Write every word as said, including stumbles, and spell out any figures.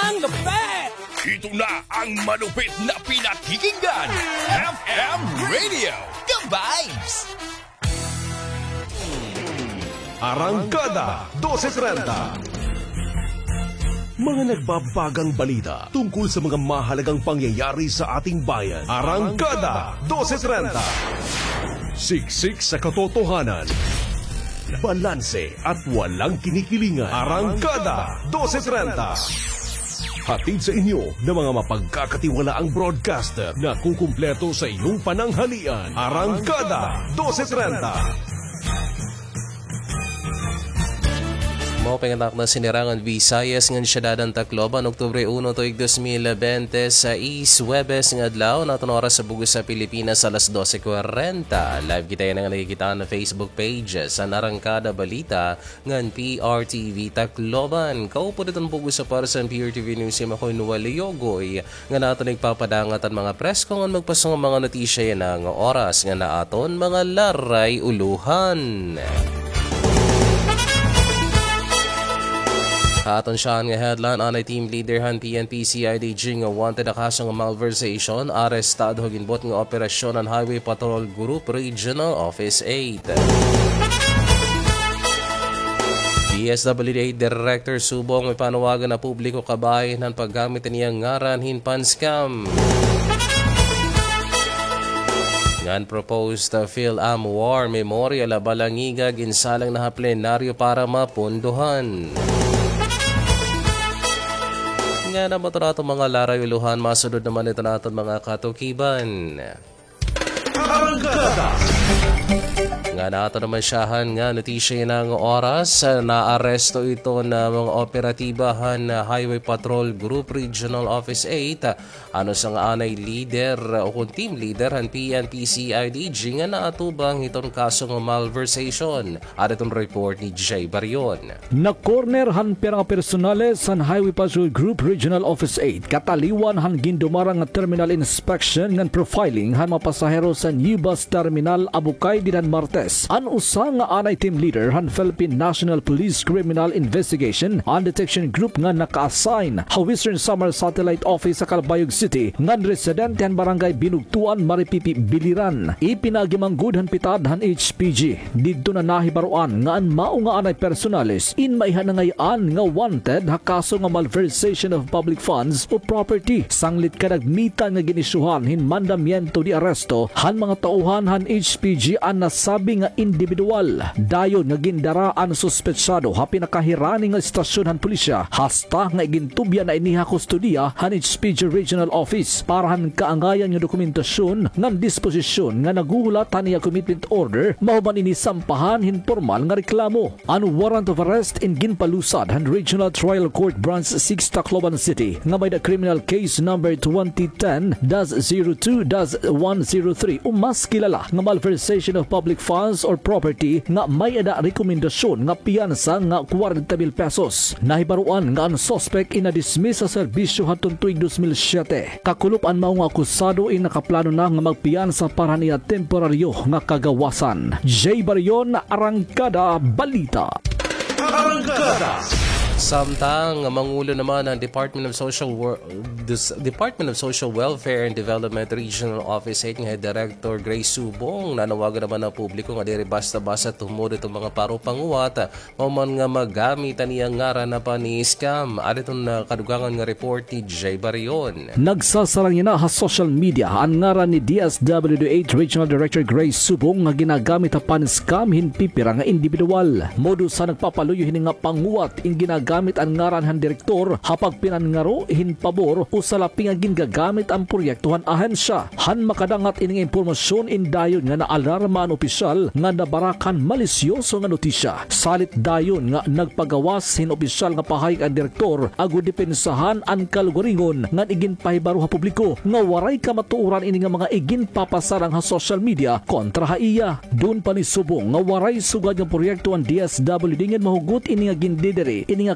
Ang lupit! Ito na ang malupit na pinakikinggan. F M Radio, The Vibes! Arangkada, dose trenta. Mga nagbabagang balita tungkol sa mga mahalagang pangyayari sa ating bayan. Arangkada, dose trenta. Siksik sa katotohanan. Balanse at walang kinikilingan. Arangkada, dose trenta. Hatid sa inyo ng mga mapagkakatiwalaang broadcaster na kukumpleto sa iyong pananghalian. Arangkada, dose trenta. Mao pa nga tanan sinirangan Visayas ngan siyudad han Tacloban, Oktubre uno, tuig dos mil bente sais, Huwebes nga adlaw, an aton oras sa bug-os sa Pilipinas, alas dose kwarenta. Live kita yana nga nakikita ha Facebook page san Arangkada Balita ngan P R T V Tacloban. Kaupod iton bug-os sa Parsan P R T V News Team, ako hi Noel Leogoy, ngan aton igpapadangat an mga presko ngan magpaso nga mga notisya yana nga oras ngan aton mga laray-ulohan. Ha aton syahan nga headline, anay team leader han P N P C I D G nga wanted ha kaso nga malversation, arestado ha ginbuot nga operasyon han Highway Patrol Group Regional Office eight. D S W D eight Director Subong may panawagan ha publiko kabahin han paggamit han iya ngaran hin pan-scam. Ngan proposed, uh, PhilAm War Memorial ha Balangiga, ginsalang na ha plenaryo para mapondohan. Ngan amo iton aton mga laray-ulohan, masunod naman iton aton mga katukiban. Arangkada. Ngan aton naman syahan nga notisya yana nga oras, ah, naaresto iton mga operatiba han, ah, Highway Patrol Group Regional Office eight, ah, an usa nga anay leader, ah, ukon team leader han P N P C I D G nga naatubang hiton kaso nga malversation. Ada iton report ni Jay Barion. Na-corner han pira nga personales han Highway Patrol Group Regional Office eight, kataliwan han gindumarang nga terminal inspection ngan profiling han mga pasahero sa New Bus Terminal, Abukay, dida han Martes, an usa nga anay team leader han Philippine National Police Criminal Investigation and Detection Group nga naka-assign ha Western Samar Satellite Office sa Calbayog City ngan residente han Barangay Binugtuan, Maripipi, Biliran. Ipinaagi man gud han pitad han H P G. Didto na nahibaroan nga an mao nga anay personales in maiha nangay-an nga wanted ha kaso nga malversation of public funds o property, sanglit kadagmitan nga gin-isyuhan hin mandamiento de arresto han mga tauhan han H P G an nasabi nga indibidwal. Dayon nga gindara an suspetsado ha pinakahirani nga estasyon han pulisya, hasta nga igintubya na ini ha kustodiya han H P G Regional Office para han kaangayan nga dokumentasyon ngan disposisyon nga naghuhulat han iya commitment order, mahuman ini sampahan hin pormal nga reklamo. An warrant of arrest in ginpalusad han Regional Trial Court Branch six, Tacloban City, nga may-ada criminal case number twenty ten dash zero two dash one zero three, o mas kilala nga malversation of public funds or property, nga may-ada rekomendasyon nga piyansa nga kwarenta mil pesos. Nahibaroan nga an suspect in na-dismiss ha serbisyo hadton tuig dos mil siyete. Kakulop an mao nga akusado in nakaplano na nga magpiyansa para han iya temporaryo nga kagawasan. Jay Barion, Arangkada Balita. Arangkada. Samtang mangulo naman an Department of Social Wor-, Des-, Department of Social Welfare and Development Regional Office eight nga hi Director Grace Subong, nanawagan naman an publiko nga diri basta-basta tumod iton mga paro panguwat, mahuman nga magamit an iya ngaran ha pani-scam. Ada iton, ah, kadugangan nga report ni Jay Barion. Nagsasarang yana ha social media an ngaran ni D S W D eight Regional Director Grace Subong nga ginagamit ha pan-scam hin pipira nga indibidwal. Modus han nagpapaluyo hini nga panguwat in ginagamit an ngaran han direktor ha pagpinanngaro hin pabor o salapi nga gingagamit an proyekto han ahensya. Han makadangat ini nga impormasyon in dayon nga naalarma an opisyal nga nabarak han malisyoso nga notisya. Salit dayon nga nagpagawas hin opisyal nga pahayag an direktor agod depensahan an kalugaringon ngan iginpahibaro ha publiko nga waray kamatuoran ini nga mga iginpapasarang ha social media kontra ha iya. Dun pa ni Subong nga waray sugad nga proyekto an D S W D ngan mahugot ini nga gindidiri ini nga